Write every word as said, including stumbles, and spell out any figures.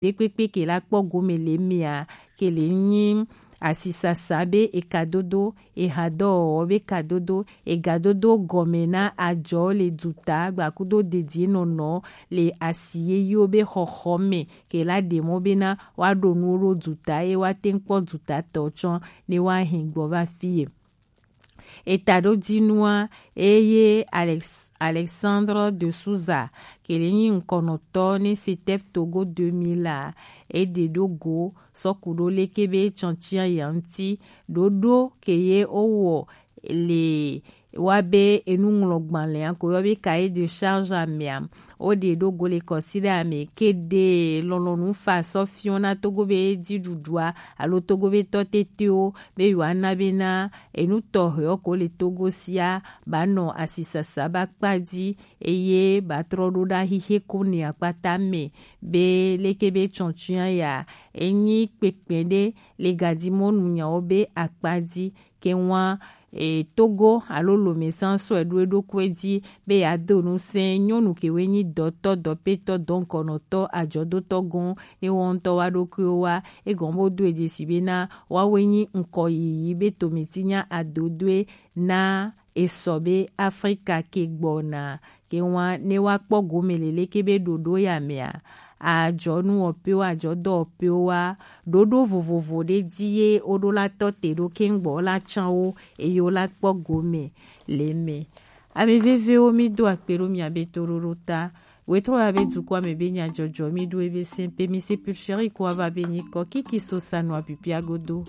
ɖekpekpe ke la kpɔ gome le mea, ke le nyi asisasa be ekadodo, ehadɔwɔwɔ be kadodo, egadodo gɔme na ajɔ le duta gbakudo dedienɔnɔ le asi yeyewo be xɔxɔ me, ke la ɖe mɔ bena woaɖo nuwo ɖo duta ye woate ŋu kpɔ dutatɔ tsɔ ne woahe gbɔ va fie. Etaɖodzinua eye Alex, Alexandre de Souza ke le nyi ŋkɔnɔtɔ ne Setef Togo deux mille a, eɖe ɖo go sɔku ɖo leke be tsɔtsia ya ŋuti ɖoɖo ke ye wowɔ le wa be enuŋlɔgbalẽa ko yɔ be cahier de charge amea, woɖe ɖo go le kɔsiɖa me ke ɖe lɔlɔ̃nu fa sɔ fiɔ na Togo be dziɖuɖua alo Togo be tɔ tetewo be yewoana bena enu tɔxɛwo ko le Togo sia ba nɔ asisasa ba kpa dzi eye ba trɔ ɖo ɖa xixe ko ne akpata me be leke be tsɔtsia ya enyi kpekpe ɖe le gadimɔnu nyawo be akpa dzi ke ŋua e, Togo alo Lomesa sɔe ɖo eɖokui dzi be yeado ŋusẽ nyɔnu kewoe nyi dɔtɔ, dɔpetɔ, dɔŋkɔnɔtɔ, ajɔdotɔ gɔ̃ ne woawo ŋutɔ woa ɖokuiwo wa. Egɔme be wodo dzesi bena woawoe nyi ŋkɔ yiyi be tometinya adodoe na esɔ be Afrika ke gbɔna ke ŋua ne woakpɔ gome le leke be ɖoɖo ya mea, ajɔnu wɔpewo, ajɔdɔwɔpewo wa ɖoɖo vovovo ɖe dzi ye woɖo la tɔ te ɖo keŋ gbɔ la tsã wo eye wo la kpɔ gome le eme. Ame vevewo, mi do akpe ɖo mia be toɖoɖo ta. Wetrɔ ya be dukɔa me be nyajɔjɔ mi ɖo ebe sɛn pe mi se pulcheri ko ava be nyikɔ kiki so sanu apipia godo.